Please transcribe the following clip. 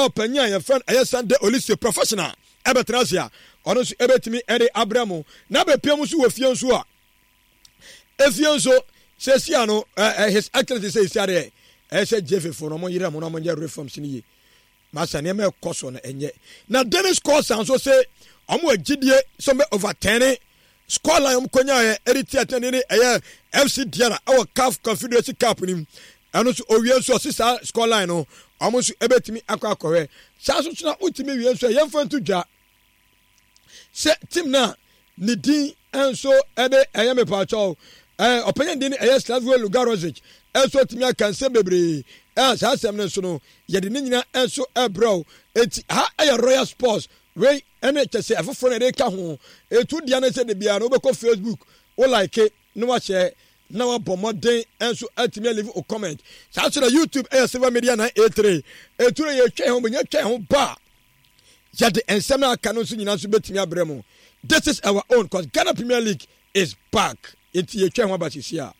Ɔpanyin a yɛfrɛ no ɛyɛ Sunday Olise professional ɛbɛtena ase a ɔno nso ɛbɛtumi ɛde abrɛ mo. Na bɛpia mu nso wɔ fie nso a efie nso sɛsi ano ɛɛ his excellency sɛ esi adeɛ ɛyɛ sɛ jefe fo no ɔmo yerɛ mo na ɔmo nyɛ reforms no yie. Masa nneɛma ɛkɔ so no ɛnyɛ. Na Dennis Kosa nso se ɔmo wɔ gyidie sɛ ɔmo bɛ overturn score line ɔmo kɔnyaeɛ ɛde tia tɛne ne ɛyɛ FC Diarra ɛwɔ CAF Confederacy Cup no mu. Ɛno nso owie nso ɔse saa score line no ɔmo nso ɛbɛtumi akɔ akɔhwɛ. Saa nso so na wotumi wie nso a yɛmfa nto dwa sɛ team no a ne din nso ɛde ɛyɛ mepaakyɛw ɛɛ ɔpanyin din ɛyɛ Slavko Lugarovic nso tumi aka nsɛm bebree ɛɛ saa asɛm no nso no yɛde ne nyinaa nso ɛbrɛw eti ha ɛyɛ Royal Sports wei ɛne kyɛ sɛ ɛfoforɔ na ɛde ka ho etu deɛ no sɛ de biara no wobɛkɔ Facebook wo like na wahyɛ na wabɔ mmɔden nso atumi alive o comment saa nso na YouTube ɛyɛ Silver Media 983 etu no yɛtwa yɛn ho bɛnya twa yɛn ho ba yɛde nsɛm a aka no nso nyinaa nso bɛtumi abrɛ mu this is our own cause Ghana Premier League is back nti yɛtwa ho aba sisi a.